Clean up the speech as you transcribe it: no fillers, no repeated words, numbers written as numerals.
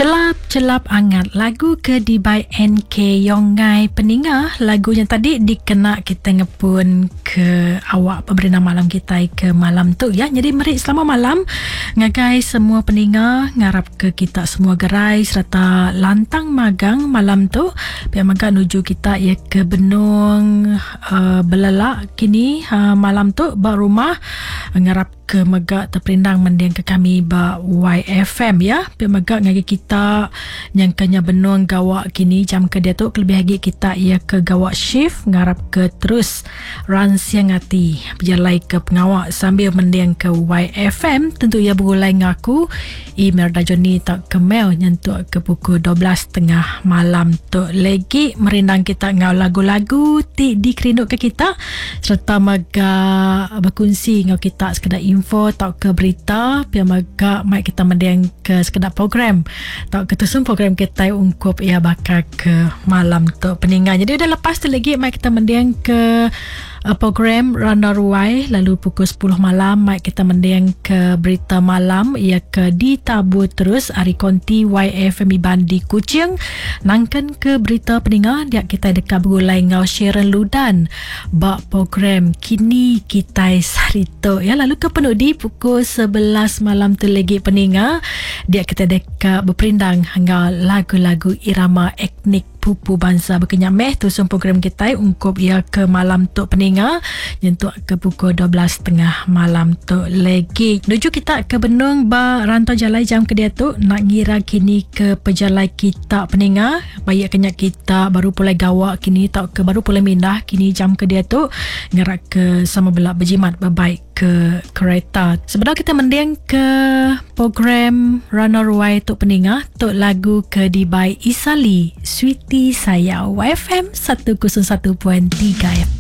Chelap chelap angat lagu ke dibai NK Yongai peninga lagu nya tadi dikena kita ngepun ke awak pemerindang malam kitai ke malam tu ya. Jadi meri selamat malam ngagai semua peninga ngarap ke kita semua gerai sereta lantang magang malam tu. Pia mega nuju kita iya ke benung uh, belelak kini uh, malam tu ba rumah ngarap ke mega teperindang mending ke kami ba YFM ya. Pia mega ngagai kita nyangka nya benung gawa kini jam ke diatu kelebih agi kita iya ke gawa shift ngarap ke terus ransing ati bejalai ke pengawa sambil mending ke YFM tentu iya begulai enggau aku Imelda Johnny tau ke Mel nyentuk ke pukul 12 tengah malam tu legi merindang kita enggau lagu-lagu ti dikerinduka kita sereta mega bekunsi enggau kita sekeda info tauka berita pia mega mai kita mending ke sekeda program tauka tusun program kitai ungkup iya baka ke malam tu peninga. Jadi udah lepas tu lagi mai kita mending ke uh, program Randa Ruai lalu pukul 10 malam mai kita mending ke berita malam ia ke ditabur terus ari konti YFM Iban di Kuching nangkan ke berita peninga dia kita deka begulai enggau Sharon Ludan ba program Kini Kitai Saritu ya lalu ke penudi pukul 11 malam tu lagi peninga dia kita deka beperindang enggau lagu-lagu irama etnik pupu bansa baka nya meh tusun program kitai ungkup iya ke malam tu peninga nyentuk ke pukul 12.30 malam tu legi. Nuju kita ke benung ba rantau jalai jam ke diatu nak ngira kini ke pejalai kita peninga baik ke nya kita baru pulai gawa kini tauka baru pulai mindah kini jam ke diatu ngerak ke sama bela bejimat bebaik ke kereta. Sebedau kita mending ke program Rana Ruai tu peninga, tu lagu ke dibai Isali, Sweetie Sayau, YFM 101.3 FM.